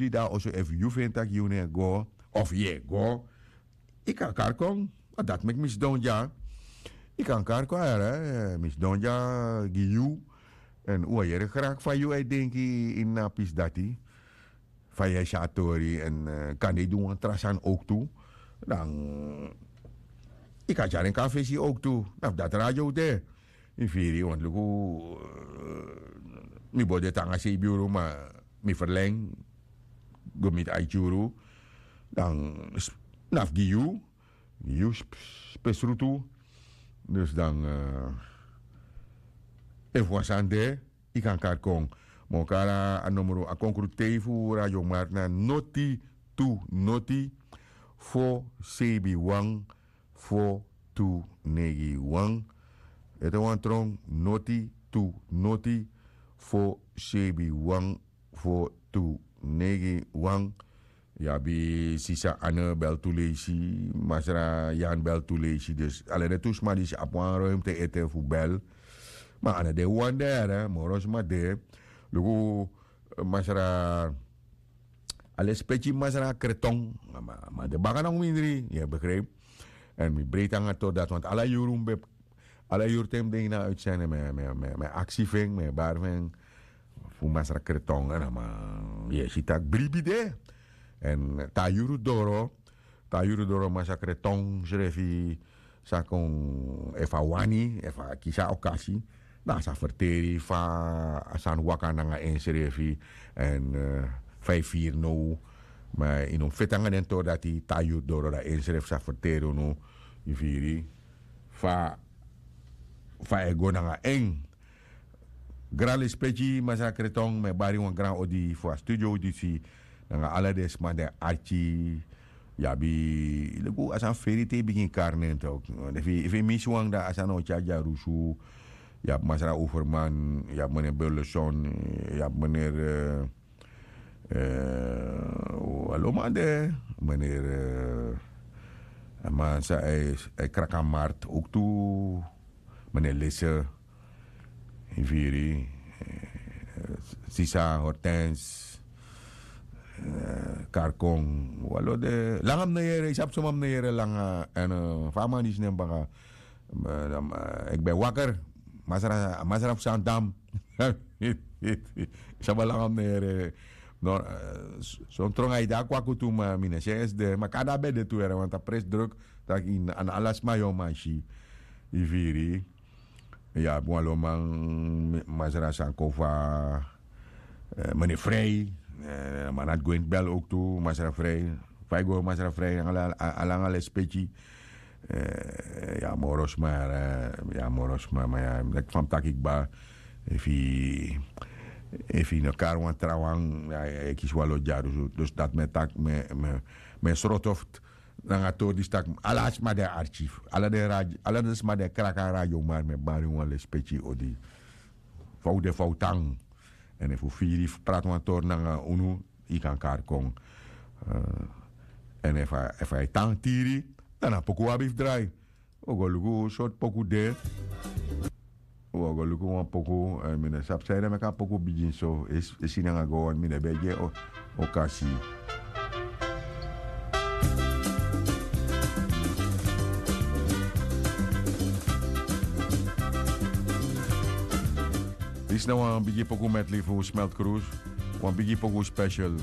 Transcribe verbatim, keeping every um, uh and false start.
Dati oso efu yu feni tak' yu no e go, of yu e go, yu kan kari kon. A dati meki mi sidon dya. Yu kan kari kon, a yere, mi sidon dya gi yu. Èn un o yere graki fa yu e denki ini a pisi dati, fa yu e si a tori, èn kande yu du wan tra sani owktu, dan yu kan tyari en kon na fesi owktu. Na fu dati radio de. Yu firi, want luku, mi bo de te nanga seibi yuru, ma mi ferlengi go miti aiti yuru. Dan na fu gi yu, gi yu spesrutu. Dus dan, efu wan sani de, yu kan kari kon. Ma un kari a nomru, a konkrutei fu Radio Markt na noti tu noti fo seibi wan fo tu negi wan. Ete wan tron, noti tu noti fo seibi wan fo tu negi wan. Yu abi sisa Anne bel tu leisi, masra Jan bel tu leisi. Dus ala den tu sma disi abi wan ruimte ete fu bel. Ma a no de wan de, moro sma de. Luku, masra, a lespeki masra Kreton. Ma, ma de baka na un mindri, yu e begrijp. Èn mi breiti nanga tori dati, want ala yuru mi ben, ala yuru te mi de ini a uitzending, mi e, mi e, mi e, mi e aksi fu en, mi e bari fu en, fu masra Kreton, èn a man, yu e si tak' bribi de. Èn te a yuru doro, te a yuru doro, masra Kreton srefi sa kon, efu a wani, efu a kisi a okasi, dan a sa ferteri fa a sani waka nanga ensrefi, èn fa yu firi now. Ma yu no mus feti nanga den tori dati, te a yuru doro dan ensrefi sa ferteri unu, yu firi, fa, fa e go nanga en. Gran lespeki masra Kreton, mi e bari wan gran odi fu a studio disi, nanga ala den sma di e arki. Yu abi, luku, a sani feri te yu bigin kari nen tok. Efu yu, efu yu misi wan, dan a sani o tyari dyarusu. Yu abi masra Overman, yu abi meneer Burleson, yu abi meneer, eh, eh, alo man de, meneer, eh, a man san e, e kraki a markt owktu, meneer Lisse, yu firi, eh, sisa Hortense, eh, kari kon, wan lo de, langa mi no yere, yu sabi suma mi no yere langa, èn, eh, fa a man disi nen baka, eh, dan, eh, eki ben wakker, masra, masra fu Sandam. Yu sabi langa mi no yere, no, eh, s-, son tron a yu de a kwaku tu, ma mi no si en esi de, ma kande a ben de tu yere, want a pres druk, taki na ala sma yu o man si, yu firi. Yu abi wan lo man, masra Sankofa, eh, meneer Frei, eh, man na Gwent bel owktu, masra Frei. Fa yu go masra Frei, ala, ala, ala lespeki. Eh, yu a moro sma, eh, yu a moro sma, ma yu a, leki fa mi taki kba, efu yu, efu yu no kari wan trawan, yu e kisi wan lo dyarusu. Dus dati mi e taki, mi e, mi e, mi e sroto fu nanga tori disi taki, ala sma di e arki, ala den rad-, ala den sma di e kraki a Radio Markt, mi e bari wan lespeki odi. Fa un de, fa un tan. Èn efu un firi fu prati wan tori nanga unu, yu kan kari kon. Eh, èn efu a, efu a e tan tiri, dan na poku un abi fu drai. Un o go luku sortu poku de. Un o go luku wan poku, eh, mi no sabi sanede meki a poku bigin so, e, e si nanga go, want mi no ben e gi en o-, okasi. Disi na wan bigi poku medley fu Smelt Cruise, wan bigi poku special.